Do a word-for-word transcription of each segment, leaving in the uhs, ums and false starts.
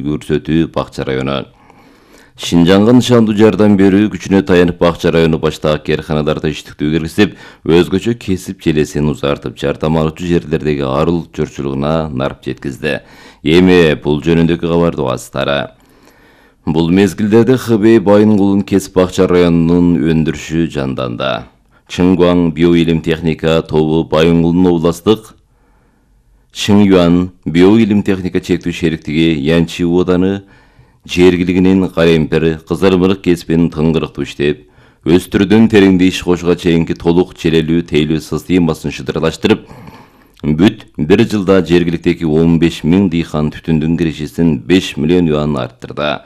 көрсөтүү Бакча району. Шинжанга нышандуу жардам берүү күчүнө таянып Бакча району баштагы кээрханаларда иштиктүү киргизип, өзгөчө кесип желесин узартып, жардам алуучу жерлердеги арыл жорчулугуна нарп жеткизди. Эми бул жөнүндөгү кабарды угасыздар. Бул мезгилдерде Хэбэй Байынгулун кесип Бакча районунун өндүрүшү жанданды. Чыңгуаң биоилим техника тобу Байынгулдун областык Чыңюан биоилим техника чектүү шериктиги Янчи ооданы жергилигинин Каремпир кызырмырык кесипин тыңгырыктуу иштеп, өстүрүүдөн тереңде иш кошууга чейинки толук челелүү тейлөө системасын шыдырлаштырып, бүт бир жылда жергиликтеги он беш миң дыйкан түтүндүн кирешесин беш миллион юан арттырды.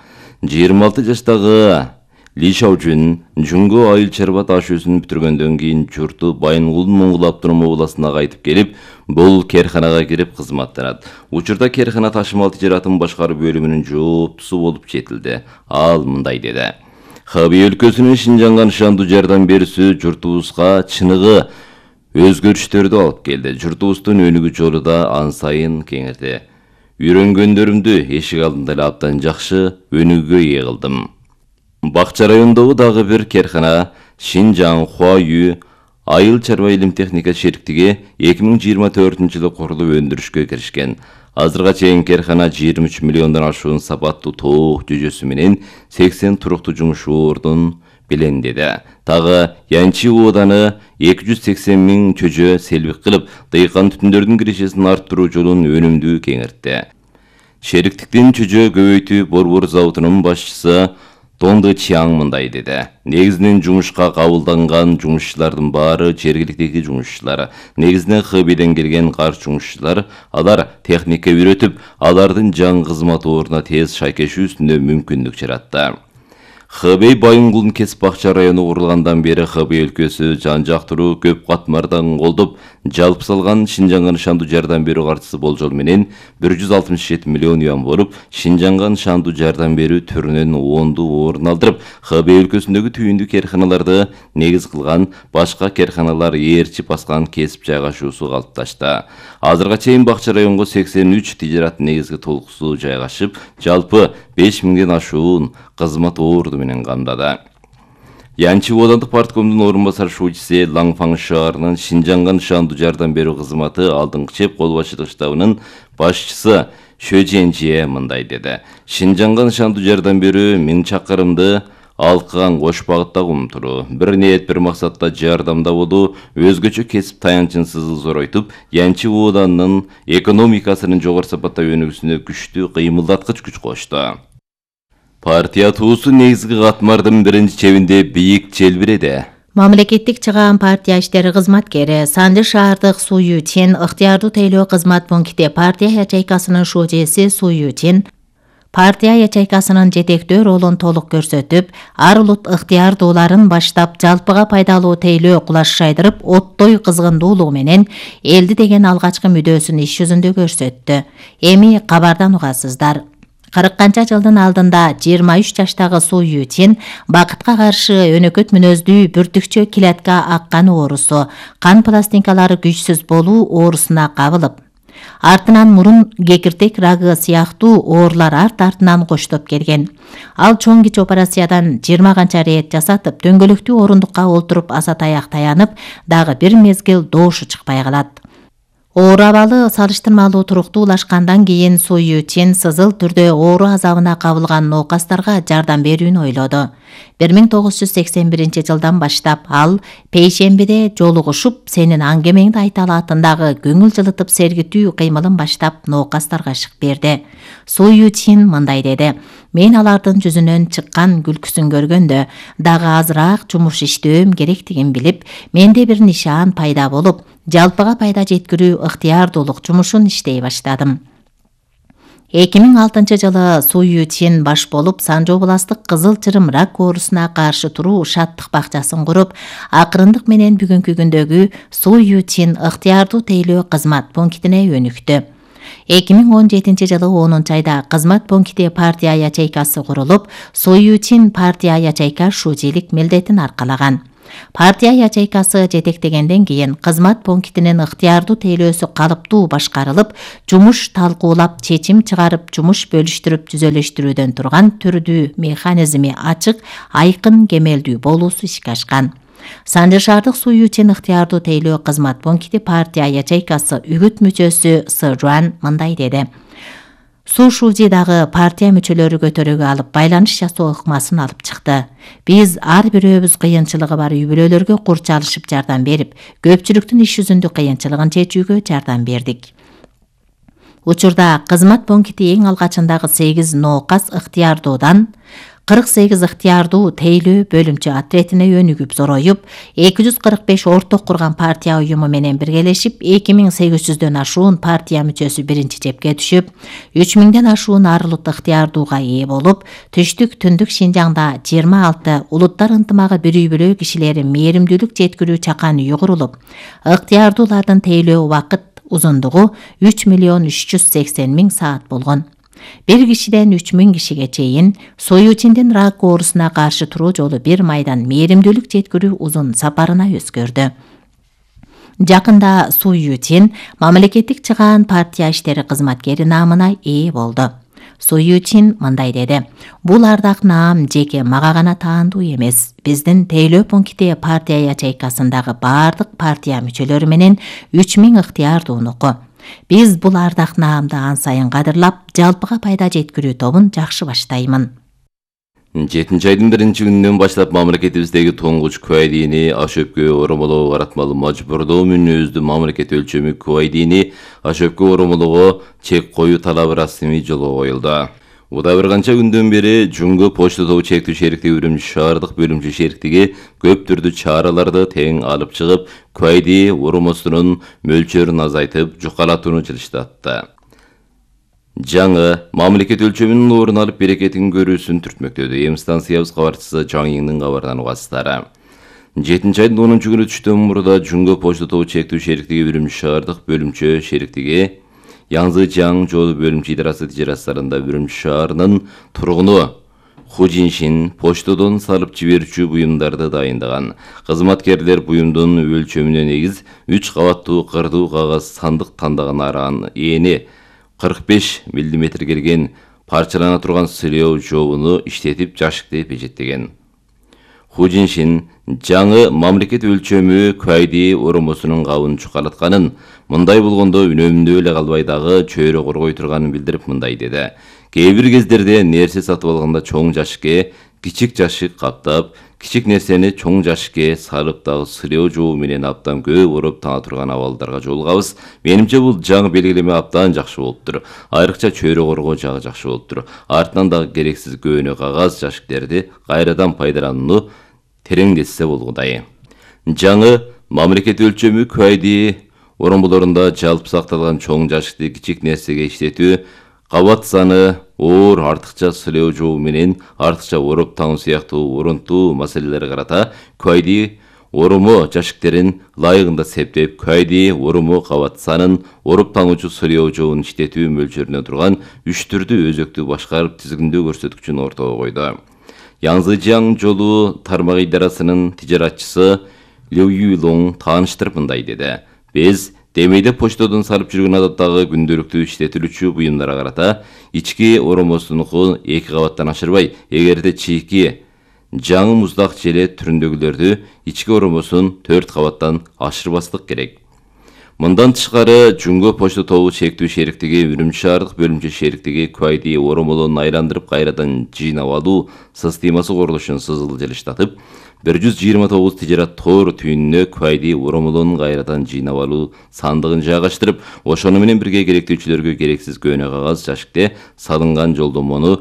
жыйырма алты жаштагы Ли Шаожун Жунго айыл чарба ташуусун бүтүргөндөн кийин журту Байынгулдун Моңгол автоном областына кайтып келип, бул кээрханага кирип кызматтанат. Учурда кээрхана ташымал тижаратын башкаруу бөлүмүнүн жооптусу болуп жетилди. Ал мындай деди: Хэбэй өлкөсүнүн Шинжанга нышандуу жардам берүүсү журтубузга чыныгы өзгөрүштөрдү алып келди. Журтубуздун өнүгүү жолу да ан сайын кеңирди. Үйрөнгөндөрүмдү эшик алдында эле абдан жакшы өнүгүүгө ээ кылдым. Бакча районундагы дагы бир кээрхана Шинжаң Хуаю айыл чарба илим техника шериктиги эки миң жыйырма төртүнчү жылы курулуп өндүрүшкө киришкен. Азырга чейин кээрхана жыйырма үч миллиондон ашуун сапаттуу тоок жөжөсү менен сексен туруктуу жумуш ордун белендеди. Дагы Янчи ооданы эки жүз сексен миң чөжө селбик кылып, дыйкан түтүндөрдүн кирешесин арттыруу жолун өнүмдүү кеңиртти. Шериктиктин чөжө көбөйтүү борбор заводунун башчысы Тонды Чиаң мындай деди: негизинен жумушка кабылданган жумушчулардын баары жергиликтеги жумушчулар. Негизинен Хэбэйден келген карш жумушчулар. Алар техника үйрөтүп, алардын жаңы кызмат ордуна тез шайкешүүсүнө мүмкүндүк жаратты. Хэбэй Байынгулдун кесип Бакча району курулгандан бери Хэбэй өлкөсү жан жактыруу көп катмардан колдоп, жалпы салган Шинжанга нышандуу жардам берүү каржысы болжол менен бир жүз алтымыш жети миллион юан болуп, Шинжанга нышандуу жардам берүү түрүнөн оңду орун алдырып, Хэбэй өлкөсүндөгү түйүндүү кээрханаларды негиз кылган, башка кээрханалар ээрчип баскан кесип жайгашуусу калыпташты. Азырга чейин Бакча районго сексен үч тижарат негизги толкусу жайгашып, жалпы беш миңден ашуун кызмат орду менен камдады. Янчи оодандык парткомдун орун басар шуучусы Лаңфаң шаарынын Шинжанга нышандуу жардам берүү кызматы алдыңкы чеп кол башчылык штабынын башчысы Шөженжие мындай деди: Шинжанга нышандуу жардам берүү миң чакырымды алкыган кош багыттагы умтуруу, бир ниет бир максатта жардамда болуу, өзгөчө кесип таянчынсызды зоройтуп, Янчи ооданын экономикасынын жогору сапатта өнүгүүсүнө күчтүү кыймылдаткыч күч кошту. Партия туусу негизги катмардын биринчи чебинде бийик желбиреди. Мамлекеттик чыгаан партия иштери кызматкери Санжы шаардык Су Ютин ыктыярдуу тейлөө кызмат пункти партия ячейкасынын шужеси Су Ютин партия ячейкасынын жетектөө ролун толук көрсөтүп, ар улут ыктыярдууларын баштап жалпыга пайдалуу тейлөө кулаш шайдырып, оттой кызгындуулугу менен элди деген алгачкы мүдөөсүн иш жүзүндө көрсөттү. Эми кабардан угасыздар. кырк канча жылдын алдында жыйырма үч жаштагы Су Ютин бакытка каршы өнөкөт мүнөздүү бүртүкчө килатка аккан оорусу, кан пластинкалары күчсүз болуу оорусуна кабылып, артынан мурун кекиртек рагы сыяктуу оорулар арт артынан коштоп келген. Ал чоң кич операциядан жыйырма канча рет жасатып, дөңгөлөктүү орундукка олтуруп аса таяк таянып, дагы бир мезгил доошу чыкпай калат. Оору абалы салыштырмалуу туруктуулашкандан кийин Су Ютин сызыл түрдө оору азабына кабылган ноокастарга жардам берүүнү ойлоду. бир миң тогуз жүз сексен биринчи жылдан баштап ал Пейшембиде жолугушуп, сенин аңгемеңди айта алатындагы көңүл жылытып сергитүү кыймылын баштап ноокастарга ышык берди. Су Ютин мындай деди: мен алардын жүзүнөн чыккан күлкүсүн көргөндө дагы азыраак жумуш иштөөм керектигин билип, менде бир нишан пайда болуп, жалпыга пайда жеткирүү ыктыярдуулук жумушун иштей баштадым. эки миң алтынчы жылы Су Ютин баш болуп, Санжы областык кызыл чырым рак оорусуна каршы туруу шаттык бакчасын куруп, акырындык менен бүгүнкү күндөгү Су Ютин ыктыярдуу тейлөө кызмат пунктине өнүктү. эки миң он жетинчи жылы онунчу айда кызмат пункти партия ячейкасы курулуп, Су Ютин партия ячейка шужелик милдетин аркалаган. Партия ячейкасы жетектегенден кийин кызмат пунктинин ыктыярдуу тейлөөсү калыптуу башкарылып, жумуш талкуулап, чечим чыгарып, жумуш бөлүштүрүп түзөлүштүрүүдөн турган түрдүү механизми ачык, айкын, кемелдүү болуусу ишке ашкан. Санжы шаардык суу үчүн ыктыярдуу тейлөө кызмат пункти партия ячейкасы үгүт мүчөсү Сы Жуан мындай деди. Су Шужи дагы партия мүчөлөрү көтөрүүгө алып байланыш жасоо ыкмасын алып чыкты. Биз ар бирөөбүз кыйынчылыгы бар үй-бүлөлөргө курчалышып жардам берип, көпчүлүктүн иш жүзүндө кыйынчылыгын чечүүгө жардам бердик. Учурда кызмат пункти эң алгачындагы сегиз ноокас ыктыярдуудан кырк сегиз ыктыярдуу тейлөө бөлүмчө отретине өнүгүп зороюп, эки жүз кырк беш орток курган партия уюму менен биргелешип, эки миң сегиз жүздөн ашуун партия мүчөсү биринчи жепке түшүп, үч миңден ашуун арылыт ыктыярдууга ээ болуп, түштүк түндүк Шинжаңда жыйырма алты улуттар ынтымагы бир үй-бүлө кишилери мээримдүүлүк жеткирүү чакан үй курулуп, ыктыярдуулардын тейлөө убакыт узундугу үч миллион үч жүз сексен миң саат болгон. Бир кишиден үч миң кишиге чейин Союучиндин рак оорусуна каршы туруу жолу бир майдан мээримдүүлүк жеткирүү узун сапарына өзгөрдү. Жакында Суючин мамлекеттик чыгаан партия иштери кызматкери наамына ээ болду. Суючин мындай деди. Бул ардак наам жеке мага гана таандуу эмес. Биздин тейлөө пункти партия ячейкасындагы баардык партия мүчөлөрү менен үч миң ыктыярдуунуку. Биз бул ардак наамды ан сайын кадырлап, жалпыга пайда жеткирүү тобун жакшы баштаймын. жетинчи айдын биринчи күнүнөн баштап мамлекетибиздеги туңгуч куайдини ашөпкө оромолоо баратмалуу мажбурдоо мүнөздүү мамлекет өлчөмү куайдини ашөпкө оромолоого чек коюу талабы расмий жолго коюлду. Уда бир канча күндөн бери Жумго почта тобу чектүү шериктиги Үрүмчү шаардык бөлүмчө шериктиги көп түрдүү чараларды тең алып чыгып, куайди оромосунун мөлчөрүн азайтып, жукалатууну жылыштатты. Жаңы мамлекет өлчөмүнүн орун алып берекетин көрүүсүн түртмөктөдү. Эм станциябыз кабарчысы Жаң Иңдин кабарынан угасыздары. жетинчи айдын онунчу күнү түштөн мурда Жумго почта тобу чектүү шериктиги Үрүмчү шаардык бөлүмчө шериктиги Янзы Жаң жолу бөлүмчө идарасы тижерастарында Үрүмчү шаарынын тургуну Ху Жиншин почтодон салып жиберүүчү буюмдарды дайындаган. Кызматкерлер буюмдун өлчөмүнө негиз үч кабаттуу кырдуу кагаз сандык тандаган аран эни кырк беш миллиметр келген парчалана турган сылоо жообуну иштетип жашыкты пежеттеген. Ху Жиншин жаңы мамлекет өлчөмү куайди оромосунун кабын чукалатканын, мындай болгондо үнөмүндө эле калбай дагы чөйрө коргой турганын билдирип мындай деди. Кээ бир кездерде нерсе сатып алганда чоң жашыкке кичик жашык каптап, кичик нерсени чоң жашыкке салып дагы сылоо жообу менен аптан көп ороп тана турган абалдарга жолугабыз. Менимче бул жаңы белгилеме аптан жакшы болуптур. Айрыкча чөйрө коргоо жагы жакшы болуптур. Артынан дагы керексиз көөнө кагаз жашыктерди кайрадан пайдаланууну тереңдетсе болгудай. Жаңы мамлекет өлчөмү куайди оромолорунда жалпы сакталган чоң жашыкты кичик нерсеге иштетүү, кабат саны, оор артыкча сылоо жообу менен артыкча ороп таңуу сыяктуу орунтуу маселелерге карата куайди оромо жашыктерин ылайыгында септеп, куайди оромо кабат санын, ороп таңуучу сылоо жообун иштетүү мөлчөрүнө турган үч түрдүү өзөктү башкарып тизгиндөө көрсөткүчүн ортого койду. Янзы Жаң жолу тармак идарасынын тижаратчысы Лю Юйлоң тааныштырып мындай деди. Биз демейде почтодон салып жүргөн адаттагы күндөлүктүү иштетилүүчү буюмдарга карата ички оромосунуку эки кабаттан ашырбай, эгерде чийки жаңы муздак желе түрүндөгүлөрдү ички оромосун төрт кабаттан ашырбастык керек. Мындан тышкары Жумго почта тобу чектүү шериктиги Үрүмчү шаардык бөлүмчө шериктиги куайди оромолонун айландырып кайрадан жыйнап алуу системасы курулушун сызыл жылыштатып, бир жүз жыйырма тогуз тижарат тоор түйүнүнө куайди оромолонун кайрадан жыйнап алуу сандыгын жайгаштырып, ошону менен бирге керектүүчүлөргө керексиз көөнө кагаз жашыкте салынган жолдомону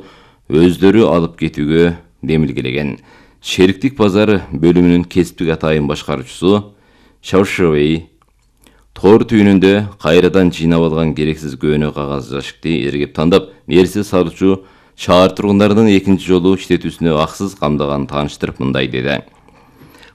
өздөрү алып кетүүгө демилгелеген. Шериктик базар бөлүмүнүн кесиптик атайын башкаруучусу Шаушевей тоор түйүнүндө кайрадан жыйнап алган керексиз көөнө кагаз жашыкты эргеп тандап, нерсе салуучу шаар тургундарынын экинчи жолу иштетүүсүнө аксыз камдаган тааныштырып мындай деди.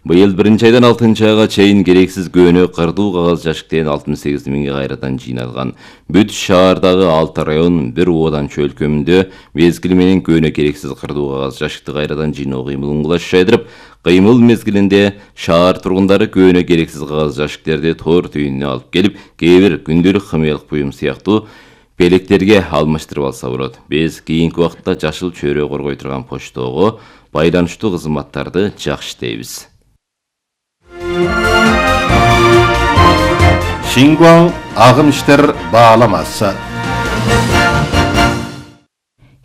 Быйыл биринчи айдан алтынчы айга чейин керексиз көөнө кырдуу кагаз жашыктен алтымыш сегиз миңге кайрадан жыйналган. Бүт шаардагы алты район бир оодан чөлкөмүндө мезгили менен көөнө керексиз кырдуу кагаз жашыкты кайрадан жыйноо кыймылын кулаштырып, кыймыл мезгилинде шаар тургундары көөнө керексиз кагаз жашыктерди тоор түйүнүнө алып келип, кээ бир күндөлүк химиялык буюм сыяктуу белектерге алмаштырып алса болот. Биз кийинки убакытта жашыл чөйрө коргой турган почтого байланыштуу кызматтарды жакшы дейбиз. Шингуан агым иштер бааламасы.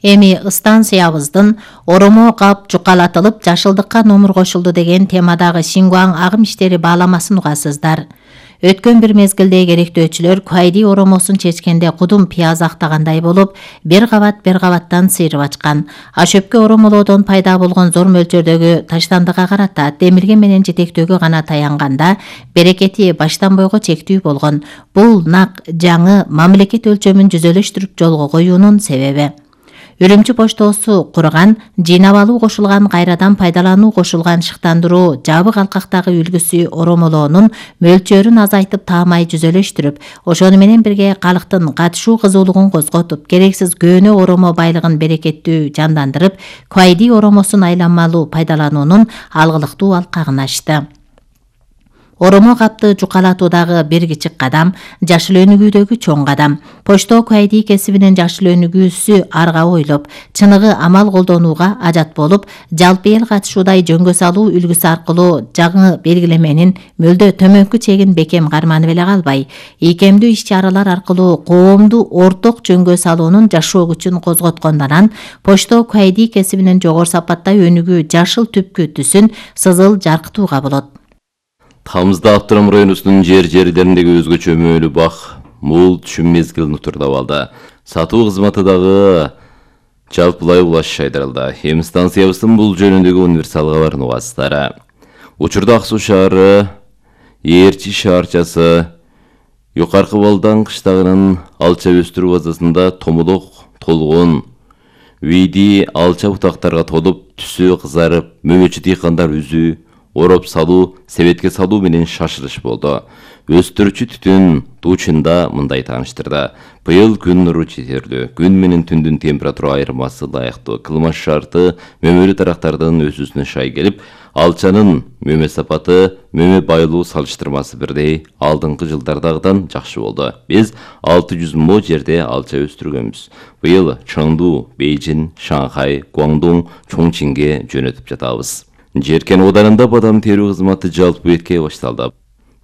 Эми станциябыздын Оромо кап жукалатылып жашылдыкка номер кошулду деген темадагы Шингуан агым иштери бааламасын угасыздар. Өткөн бир мезгилде керектөөчүлөр Куайди оромосун чечкенде кудум пияз актагандай болуп, бир кабат бир кабаттан сыйрып ачкан. Ашөпкө оромолоодон пайда болгон зор мөлчөрдөгү таштандыга карата демирге менен жетектөөгө гана таянганда, берекети баштан бойго чектүү болгон. Бул нак жаңы мамлекет өлчөмүн жүзөлөштүрүп жолго коюунун себеби. Үрүмчү поштосу курган, жыйнап алуу кошулган, кайрадан пайдалануу кошулган шыктандыруу жабык алкактагы үлгүсү оромолоонун мөлчөрүн азайтып таамай жүзөлөштүрүп, ошону менен бирге калктын катышуу кызуулугун козготуп, керексиз көөнө оромо байлыгын берекеттүү жандандырып, Куайди оромосун айланмалуу пайдалануунун алгылыктуу алкагын ачты. Оромо капты жукалатуудагы бир кичик кадам, жашыл өнүгүүдөгү чоң кадам. Почто Куайди кесибинин жашыл өнүгүүсү арга ойлоп, чыныгы амал колдонууга ажат болуп, жалпы эл катышуудай жөнгө салуу үлгүсү аркылуу жаңы белгилеменин мөлдө төмөнкү чегин бекем карманып эле калбай, ийкемдүү иш-чаралар аркылуу коомду орток жөнгө салуунун жашоо күчүн козготкондон Почто Куайди кесибинин жогору сапаттай өнүгүү жашыл түпкү түсүн сызыл жаркытууга болот. Тамызда Абдырам районунун жер-жерлериндеги өзгөчө мөөлүү бак мул түшүм мезгилин утурдап алды. Сатуу кызматы дагы жалпылай улаш айдырылды. Эми станциябыздын бул жөнүндөгү универсал кабарын угасыздар. Учурда Ак Суу шаары, Ээрчи шаарчасы, Юкаркы Балдан кыштагынын алча өстүрүү базасында томолок толгон, види алча бутактарга толуп, түсү кызарып, мөмөчү дыйкандар үзүү, ороп салуу, себетке салуу менен шашылыш болду. Өстүрүүчү түтүн туучунда мындай тааныштырды. Быйыл күн нуру жетерлүү, күн менен түндүн температура айырмасы ылайыктуу. Кылмаш шарты мөмөлүү тарактардын өсүүсүнө шай келип, алчанын мөмө сапаты, мөмө байлуу салыштырмасы бирдей алдыңкы жылдардагыдан жакшы болду. Биз алты жүз мо жерде алча өстүргөнбүз. Быйыл Чоңду, Бейжин, Шанхай, Гуандун, Чоңчинге жөнөтүп жатабыз. Жеркен оданында бадам терүү кызматы жалпы бетке башталды.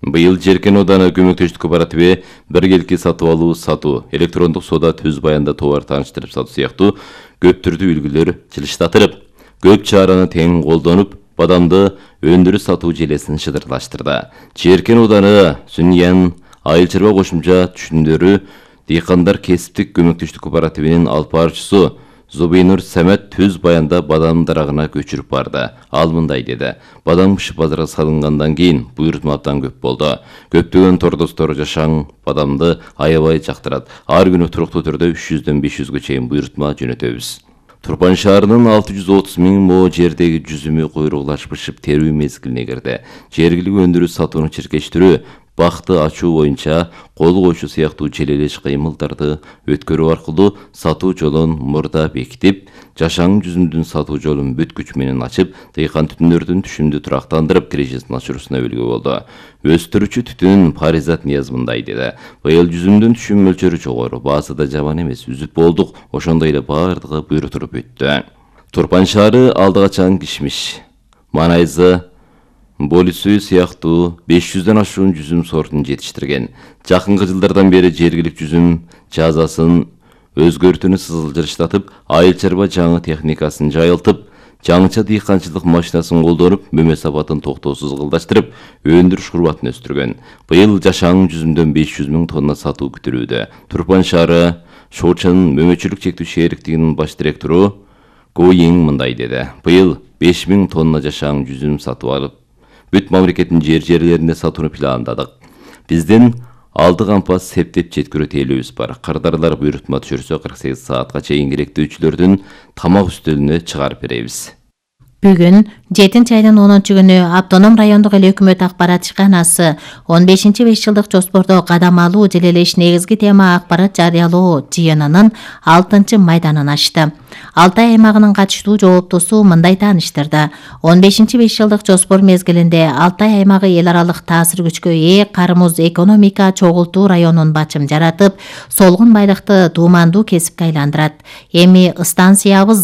Быйыл Жеркен оданы көмөктөштүк кооперативи биргелки сатып алуу, сатуу, электрондук соода, түз баянда товар тааныштырып сатуу сыяктуу көп түрдүү үлгүлөр жылыштатырып, көп чараны тең колдонуп, бадамды өндүрүү сатуу желесин шыдырлаштырды. Жеркен оданы Сүньян айыл чарба кошумча түшүндөрү дыйкандар кесиптик көмөктөштүк кооперативинин алып баруучусу Зубейнур Самет түз баянда бадам дарагына көчүрүп барды. Ал мындай деди: бадам бышып базарга салынгандан кийин буйрутма абдан көп болду. Көптөгөн тордостор жашаң бадамды аябай жактырат. Ар күнү туруктуу түрдө үч жүздөн беш жүзгө чейин буйрутма жөнөтөбүз. Турпан шаарынын алты жүз отуз миң мо жердеги жүзүмү куйругулаш бышып терүү мезгилине кирди. Жергиликтүү өндүрүү сатууну чиркештирүү, бакты ачуу боюнча кол койчу сыяктуу желелеш кыймылдарды өткөрүү аркылуу сатуу жолун мурда бекитип, жашаң жүзүмдүн сатуу жолун бүт күч менен ачып, дыйкан түтүндөрдүн түшүмдү турактандырып, кирежесин ачуусуна үлгү болду. Өстүрүүчү түтүн Паризат Нияз мындай деди: быйыл жүзүмдүн түшүм мөлчөрү жогору, баасы да жаман эмес, үзүп болдук, ошондой эле баардыгы буйрутуруп өттү. Турпан шаары алдыгачан кишмиш, манайзы, болисүй сыяктуу беш жүздөн ашуун жүзүм сортун жетиштирген. Жакынкы жылдардан бери жергиликтүү жүзүм жазасын өзгөртүүнү сызылжырыштатып, айыл чарба жаңы техникасын жайылтып, жаңыча дыйканчылык машинасын колдонуп, мөмө сапатын токтоосуз кылдаштырып, өндүрүш курбатын өстүргөн. Быйыл жашаң жүзүмдөн беш жүз миң тонна сатуу күтүлүүдө. Турпан шаары Шоочан мөмөчүлүк чектүү шериктигинин баш директору Го Йин мындай деди: быйыл беш миң тонна жашаң жүзүм сатып алып, бүт мамлекеттин жер-жерлеринде сатууну пландадык. Биздин алды кампас септеп жеткирүү тейлөөбүз бар. Кардарлар буйрутма түшүрсө кырк сегиз саатка чейин керектөөчүлөрдүн тамак үстөлүнө чыгарып беребиз. Бүгүн жетинчи айдын онунчу күнү Автоном райондук эл өкмөт акпарат ишканасы он бешинчи беш жылдык жоспордо кадам алуу жыл эле негизги тема акпарат жарыялоо жыйынынын алтынчы майданын ачты. Алтай аймагынын катыштуу жооптусу мындай тааныштырды. он бешинчи беш жылдык жоспор мезгилинде Алтай аймагы эл аралык таасир күчкө ээ кармыз экономика чогултуу районун бачым жаратып, солгун байлыкты дуумандуу кесипке айландырат. Эми станциябыз